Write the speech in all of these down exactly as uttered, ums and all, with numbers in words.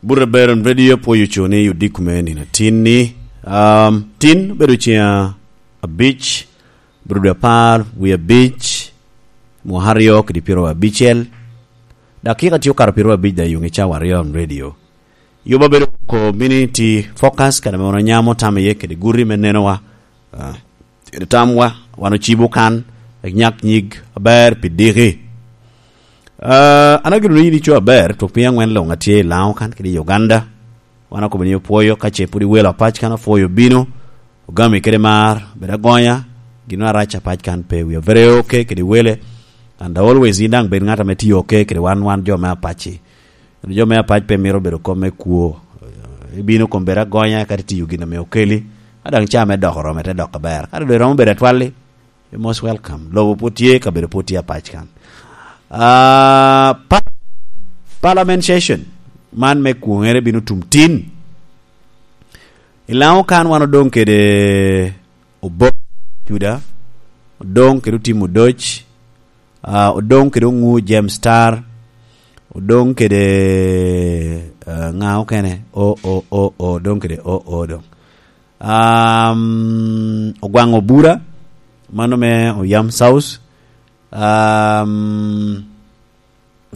Bute Beron Radio pwoyo co ni odiko me nino atin ni, um, tin bedo ceng abic, bro dwe apar, wi abic, mwaka aryo kede pyero abicel, dakika tye okato pyero abic da yuŋ i cawa aryo on radio. Yuba bedo community focus, kede me wano nyamo tam iye kede guri me nenowa. Ah, kede tamwa, wan ocibo kan, nyak nyig aber pi diki. Ah, an ageno ni yin ico aber, twok piny angwen luŋ atye i Laŋo kan kede i Uganda. Wan akobo ni opwoyo, ka ce pwod iwelo apac kan opwoyo bino, ogami kede mar, bed agonya, gino arac apac kan pe wi avere oke kede wele. And always yin daŋ bed ŋat ame tiyo oke kede wan, wan jo me apac-ci. Jo me apac pe mito bedo kom me kwo. Ibino kom bedo agonya, kadi tiyo gin ame okeli. A daŋ ca me dok oromo, ite dok aber. Kadi doŋ iromo bedo atwalli, you're most welcome. Lobo pwod tye, kabedo pwod tye apac kan. Ah, pa-, parliament session, man me kwoŋere bino tum tin. I Laŋo kan wan odoŋ kede Obok Juda, odoŋ kede Otim Odoc, ah, odoŋ kede Oŋu James Star, odoŋ kede, ah, ŋa okene? O, o, o, o, odoŋ kede o, o, odoŋ. Um, Ogwaŋ Obura, mano me Oyam South. Um,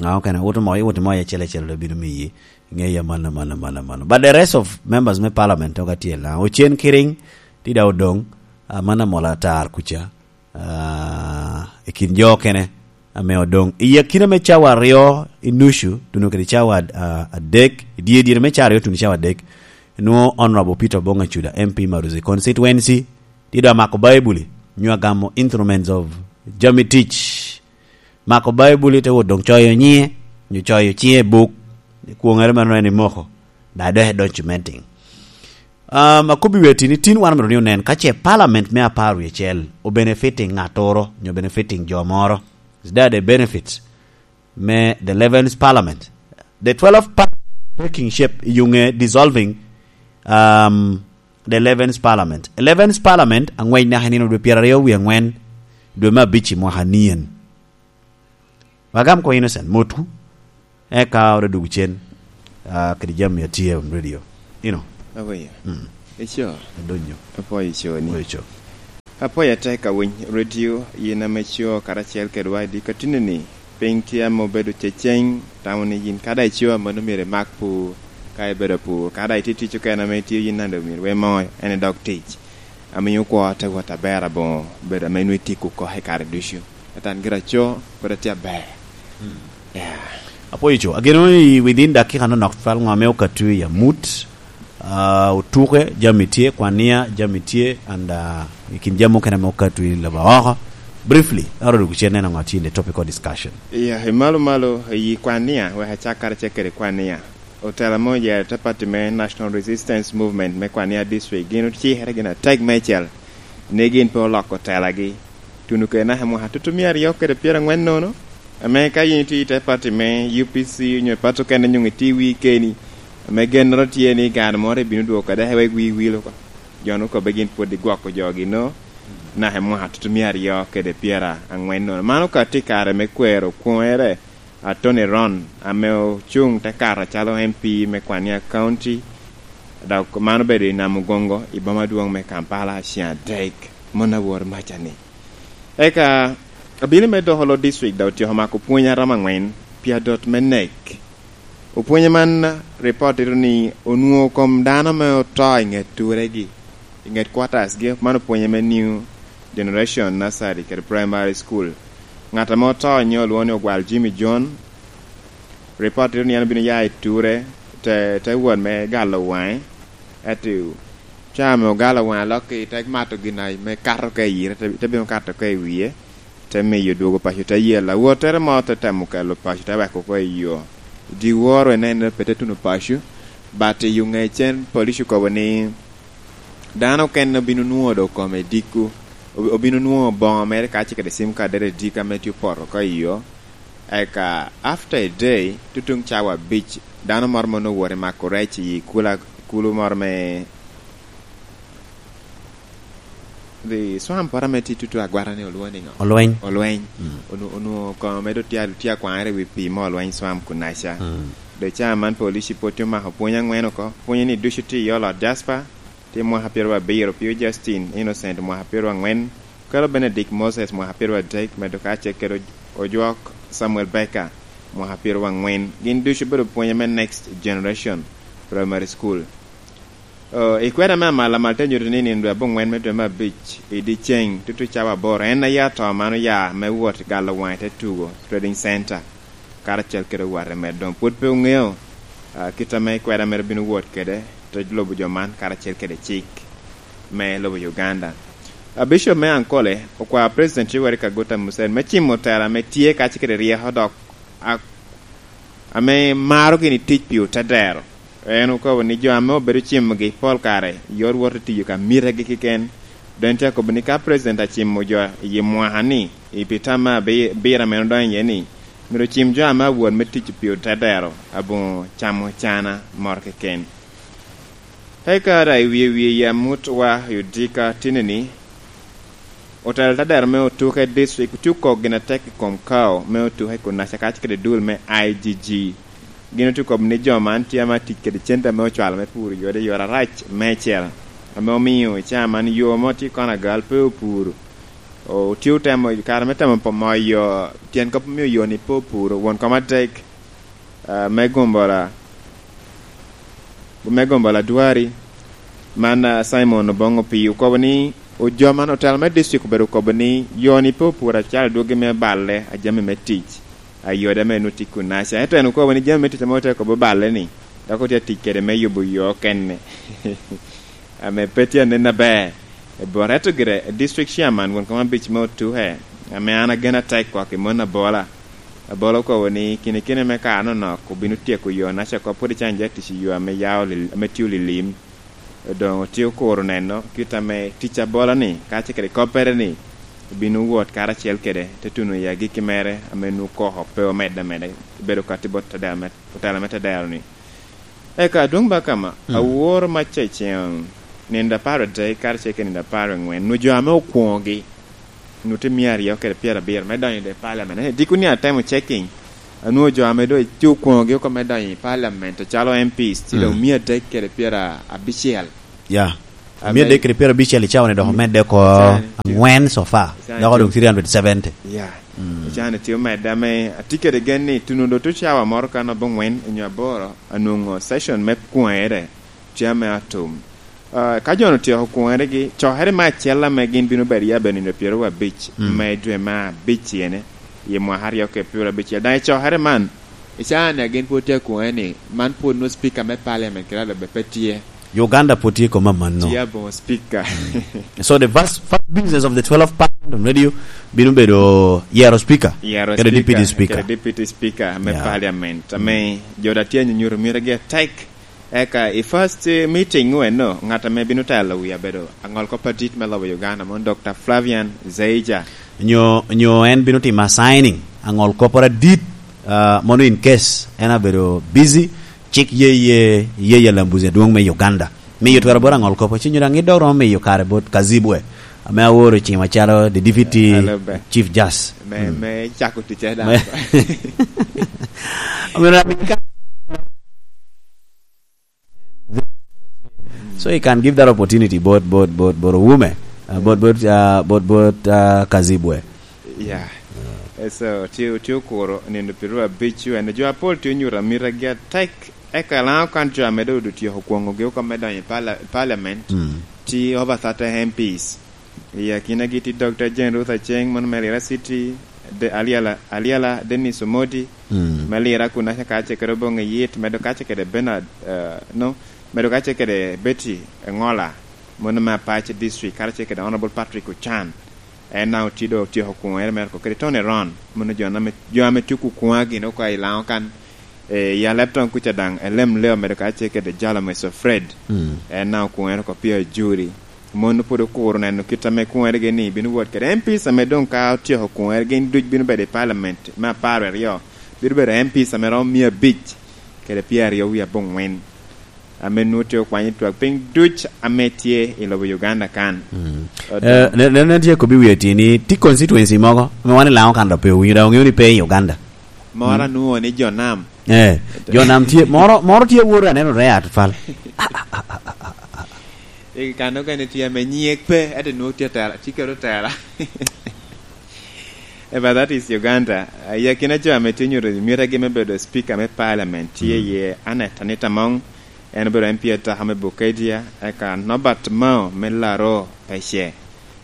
ŋa okene? Wot mo, iwot mo acel acel, dok bino miyi ŋeya mano, mano, mano, mano. But the rest of members me parliament oga tye la. Ocen Kiriŋ, tye da odoŋ, ah, mano amola atar kuca. Ah, i kin jo okene ame odoŋ. I akina me cawa aryo i nucu, tuno kede cawa, ah, adek, i dye dyere me cawa aryo tuno cawa adek, nwoŋo Honorable Peter Obong Acuda, M P Maruzi constituency, tye dok amako Baibuli, nyo agamo instruments of jami tic. Mako Baibuli te wot doŋ coyo nyiŋe, nyo coyo ciŋe i buk, kwoŋere meno en imoko, da dok edoŋ cementing. Um, akobbi weti ni tin wan myero ni onen, ka ce parliament me apar wie acel obenefiting ŋattoro, nyo benefiting jo moro, is that a benefit me the eleventh parliament? The twelfth parliament taking shape, yuŋe dissolving, um, the eleventh parliament. Eleventh parliament, aŋwec naka i nino dwe pyeraryo wie aŋwen, dwe me abic i mwaka nien. Wagam ko Innocent, motwu. Eka ora dwogo cen, ah, kede jami a tye on radio. Ino. Aweya. Mm. Ico. Adonyo. Apwoyo ico ni. Apwoyo ico. Apwoyo atek awiny radio, yin ame co karacel kedwa i diko tinni ni. Piny tye ame obedo ceceng, tamo ni yin kada ico, mano myero imak pur, ka ibedo pur, kada itye tic okene ame itye yin nando myero we mo, en idok tic. Amiyo kwo te wot aber aboŋo, bedo ame nwe tic oko i kare ducu. Atan gira co, pwod atye aber. Mm. Yeah. Apwoyo co. Ageno ni within dakika nonok twal ŋo ame okattu i amut, ah, otuke, jami tye, kwania, jami tye, and, ah, i kin jami mukene ame okattu i lobo oko. Briefly, aro duk cen neno ŋo tye in the topical discussion. Yeah, i malo malo, i kwania, wek acak kara cek kede kwania. Otela mo oye te party me National Resistance Movement me Kwania District, gin ocikere gin atek meicel ni gin pe oloko telagi. Tuno kede naka i mwaka tutu mia aryo kede pyerangwen nono, ame ka yin itye i te party me U P C, onyo party okene, onyo itye i wii keni, ame gennoro tye ni gano moro ibino dwogo kede wek wii wil oko. Jo-nu okobbe gin pwod igwoko jogi no, naka i mwaka tutu mia aryo kede pyerangwen nono. Mano ka tye i kare me kwero kwoŋere, Attorney Ron, ame ocuŋ te kato acalo M P me Kwania County, dok man obedo i Namugongo, i boma adwoŋ me Kampala, ceŋ adek, mon awor maca-ni. Eka, abino me doko lo district, dok otyeko mako pwony aromo angwen pi adot me nek. Opwonye man, ripot tito ni onwoŋo kom dano ame oto i ŋet turegi, i ŋet quarters-gi, man opwonye me New Generation Nursery kede Primary School. Ŋat ame oto nyo olwoŋo ni Ogwal Jimmy John. Ripot tito ni en obino ya i ture, te, te wot me galo waŋe. Ento ca ame ogalo waŋe lok-ki, te mato gin me kato ka i yite, te, te bino kato ka i wie, te miyo dwogo paco te yel. Awottere mo te temo kelo paco, te weko oko i yo. Dyewor inen pe te tuno paco, but i yo ŋecen police okobo ni dano okene obino nwoŋo dok kome dikku, ob-, obino nwoŋo boŋo mere kacel kede sim kaddere dikka ame tye opoto oko i yo. Eka, after a day, tutuŋ cawa abic, dano moro ma onwoŋo wot i mako rec i kula, kulu moro me, the swamp moro ame tye tutu agwata ni olwoŋo ni ŋo? Olweny. Olweny. Mm. Onu-, onwoŋo kono medo tye, tye akwaŋere i wi pii mo Olweny swamp kunaca. Mm. Dok i caa man polisi pwod tye omako pwony angwen oko. Pwonye ni ducu tye i olo Jasper, tye mwaka pyeraryo abiro, Pio Justin Innocent mwaka pyeraryo angwen, Kalo Benedict Moses mwaka pyeraryo adek, medo kacel kede oj-, ojwok Samuel Baker mwaka pyeraryo angwen. Gin ducu obedo pwonye me Next Generation Primary School. O, i kwena me amal amal te nyuto ni nino dwe abongwen me dwe me abic i dyeceŋ tutu cawa aboro en aye atoo man oya me wot galo waŋ i te tugo Trading Center karacel kede owatte mere. Doŋ pwod pe oŋeo, a, kit ame kwena mere bino wot kede te lobo jo man karacel kede cik me lobo Uganda. A, Bishop me Ankole okwao President Yoweri Kaguta Museveni me cimo tela ame tye kacel kede ryeko dok a-, ame maro gini tic pi otedero. En okobo ni jo ame obedo cimogi pol kare yot wot i tiyo ka mitegi keken. Doŋ tye akobo ni ka President acimo jo i mwaka ni, i pi tam me abi-, abiro ame odonyo iye ni, myero ocim jo ame awot me tic pi otedero aboŋo camo cana moro keken. Eka daŋ i wie wie i amut wa i odika tini ni, otelo tadero me otuke district otye okok gin atek i kom kao me otuke i Kunaca kacel kede dul me I G G. Gin otye okobo ni jo man tye ame atic kede cente ame ocwalo me puro yode i yore arac meicel, ame omio i caa man yo mo tye kono agal pe opuro. Otye otemo, kare me temo po-, moyo tyen kop omio yo-ni pe opuro. Won kom atek, ah, me Gombola, me Gombola Dwari, man, ah, Simon Obongo Opii okobo ni, ojo man otelo me district obedo okobo ni yo-ni pe opuro acalo dwogi me balle a jami me tic, a yode ame nwoŋo tye i Kunaca. Ento en okobo ni jami me tic ame ote kobo balle-ni, dok otye atic kede me yubo yo okene. Ame pe tye anen aber. E bot eto gire, district chairman won kom abic me otuke, ame an agen atek kwak i mon abola. Abola okobo ni kinikine me kare nonok obino tyeko yo Naca oko pwod ican ja tic i yo ame yao li-, ame tye olilim. Doŋ otye okuro neno kit ame tic abola-ni, kacel kede koppere-ni, obino wot karacel kede, te tuno i agikki mere ame nwoŋo koko pe omedde ameda, obedo katti bot tadero me, otela me tadero-ni. Eka adwoŋ ba kama, mm, aworo macca i ceŋ nino apar adek karacel kede nino apar angwen, nwoŋo jo ame okwoŋogi, nwoŋo tye mia aryo kede pyerabiro me donyo i paliamen. Ento dikoni atemo checking, anwoŋo jo ame doŋ tye okwoŋogi oko me donyo i paliamen, to calo M Ps, tye doŋ, mm, mia adek kede pyerabicel. Ya. Ame mia adek kede pyerabicel i cawa-ni dok, mm, omedde oko, i cawa-ni tye angwen so far. I cawa-ni dok tye odong three hundred seventy. Ya. Mm. I cawa-ni tye omedde ame atye kede gen ni tuno doŋ tye cawa moro kan abongwen nyo aboro, anwoŋo session me kwere tye ame atum. Ah, ka jo-nu otyeko kwoŋeregi, cokere me acel ame gin bino bedo iye abedo nino pyeraryo abic, mm, me dwe me abic ene, i mwaka aryo kede pyeraryo abicel. Daŋ i cokere man, i caa-ni a gin pwod tye akwoŋere ni, man pwod nwoŋo speaker me parliament kede alobbe pe tye. Uganda pwod tye i kom amanno. Tye aboŋo speaker. Mm. So the first, first business of the twelve parliament on radio bino bedo yero speaker, yero kede speaker, deputy speaker, kede deputy speaker me, yeah, parliament. Ame, mm, jo da tye anyunyuto mire gi atek. Eka i first, eh, meeting weno, ŋat ame bino telo wi abedo aŋol kop adit me lobo Uganda, mon Doctor Flavian Zeija. Nyo, nyo en bino timo assigning aŋol kopporo adit, ah, mono in case en abedo busy, cik ye, ye, ye, ye Lambuzi adwoŋ me Uganda. Miyo twero bot aŋol kop, ci nyo daŋ idok romo miyo kare bot Kazibwe, ame aoro i cima calo the deputy, alebe, chief justice. Me, mm, me cako ticce daŋ. Me, I mean, I mean, ka-, so he can give that opportunity bot, bot, bot, bot Owume, uh, bot, bot, uh, bot, bot, uh, Kazibwe. Yeah. Eh, so, tye, tye okuro nino pyeraryo abic, en jo apol tye onyuto amitagi atek. Eka Laŋo kan jo ame doŋ otyeko kwoŋogi oko me donyo i pala-, parliament, mm, tye over thirty M Ps. I akinagi tye Doctor Jane Ruth Aceng, mano me Lira City, De-, Aliala, Aliala Dennis Omodi, mm, me Lira kun aca kace kede Oboŋo Yit, medo kace kede Bernard, eh, no, medo kace kede Betty Engola, mano me Apac District, karacel kede Honorable Patrick Ochan. En daŋ otye doŋ otyeko kwoŋere mere oko kede Tony Ron, mano jo ame, jo ame tye okwoŋa gin oko i Laŋo kan. Eh, i Alebton kuca daŋ, Elem Leo medo kacel kede Jalo Meso Fred. Mm. En daŋ okwoŋere oko pia juri. Mon pwod okuro neno kit ame kwoŋeregi ni bino wot kede M Ps ame doŋ ka otyeko kwoŋere gin duc bino bedo i parliament me apar aryo. Bino bedo M Ps ame romo mia abic kede pia aryo wie abongwen. Ame nwoŋo tye okwanyo twak piny duc ame tye i lobo Uganda kan. Mm. Odo- Eh, ne, ne, ne tye kobbi wiye tye ni tye constituency mogo ame wan i Laŋo kan dok pe owinyo, dok oŋeo ni pe i Uganda. Moro, mm, anwoŋo ni jo nam, Eh, jo nam tye, moro, moro tye awot aneno rare atwal. I kano gene tye ame nyek pe, ento nwoŋo tye tela, tye kede otela. Eh, but that is Uganda. Ah, i akina jo ame tye nyuto mitegi me bedo speaker me parliament, tye iye Annet Anita Among, en obedo M P ataka me Bukedea, eka Norbert Mao me Laroo Pece.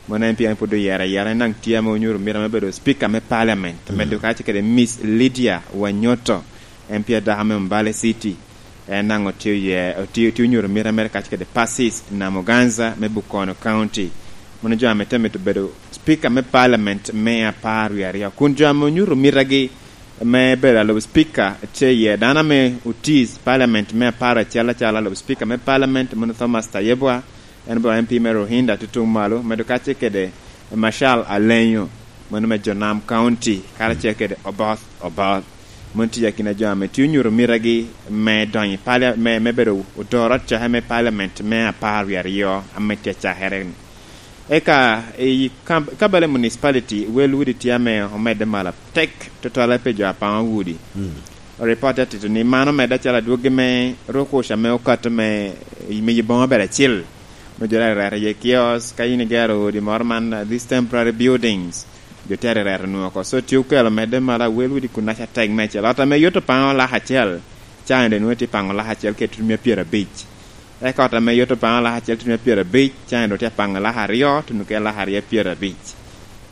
Mon en pien pwod oyero ayera, en daŋ tye ame onyuto mito me bedo speaker me parliament. Mm. Medo kacce kede Miss Lydia Wanyoto, en pien dako me Mbale City. En daŋ otye oye-, otye, otye onyuto mito mere kacce kede Persis Namuganza me Bukono County. Mon jo ame te mito bedo speaker me parliament me apar wie aryo. Kun jo ame onyuto mitegi me bedo alub speaker tye iye dano ame otii parliament me apar acel acalo alub speaker me parliament, mon Thomas Tayebwa, en obedo M P me Ruhinda tutuŋ malo, medo kacce kede Marshal Alenyo, mano me Jonam County, karacel kede Oboth Oboth. Mano tye akina jo ame tye onyuto mitegi me donyo i palia-, me, me bedo odoro coke me parliament me apar wie aryo ame tye acakere-ni. Eka i kam-, Kampala Municipality, wel udi tye ame omedde malo atek tutwale pi jo apaŋo udi. Mm. Ripot atito ni man omedde acalo adwogi me rukuc ame okato me, me yubo maber acil. Onyo jo daŋ ireto iye kiosk, ka in igero odi moro man, uh, these temporary buildings, jo tye arereto nwoŋo oko. So tye okelo medde malo awel udi kun naca tek meicel. Ot ame yot opaŋo lak acel, caŋ doŋ nwoŋo tye paŋo lak acel kede tutumia pyerabic. Eka ot ame yot opaŋo lak acel tutumia pyerabic, caŋ doŋ tye apaŋo lak aryo, tutumia lak aryo pyerabic.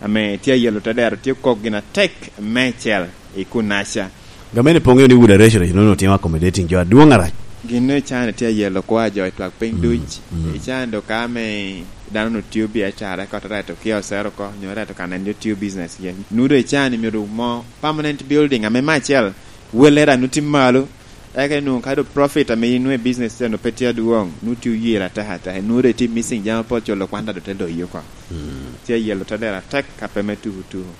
Ame tye ayelo tedero, tye kok gin atek meicel i kunaca. Gamente pe oŋeo ni Wood Arresoration onongo timo accommodating jo adwoŋ arac. Gin no i can tye ayelo kwa jo i twak piny duc. Mm. I can do ka ame dano onongo tio biacara, eka ote reto kiosk ere oko, nyo reto ka nen jo tio business iye. Nwoŋo do i can myero mo permanent building ame me acel, welle daŋ nwoŋo tye malo, eka nwoŋo ka do profit ame inwoŋo i business tye onongo pe tye adwoŋ, nwoŋo tye oyelo atek atek, nwoŋo do itye missing jami apol, culo kwanda do te loyi oko. Mm. Tye ayelo tedero atek ka pe me tuku tuku.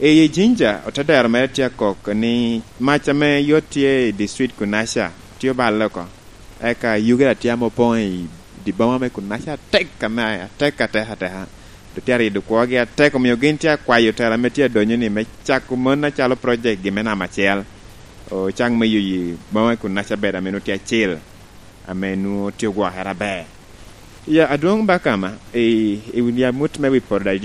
I Jinja, otedero mere tye akok ni mac ame yot tye i district kunaca tye oballe oko. Eka yugi daŋ tye ame opoŋ i dye boma me kunaca atek, ame atek atek ateka. Dok tye arido kwogi atek, omio gin tye akwayo otela ame tye adonyo ni me cako mon acalo project gi me namba acel. Ocak me yuyi boma me kunaca bed ame nwoŋo tye acil, ame nwoŋo tye ogwokere aber. Ya, adwoŋ Bakama, i, i wi amut me wi poto daŋ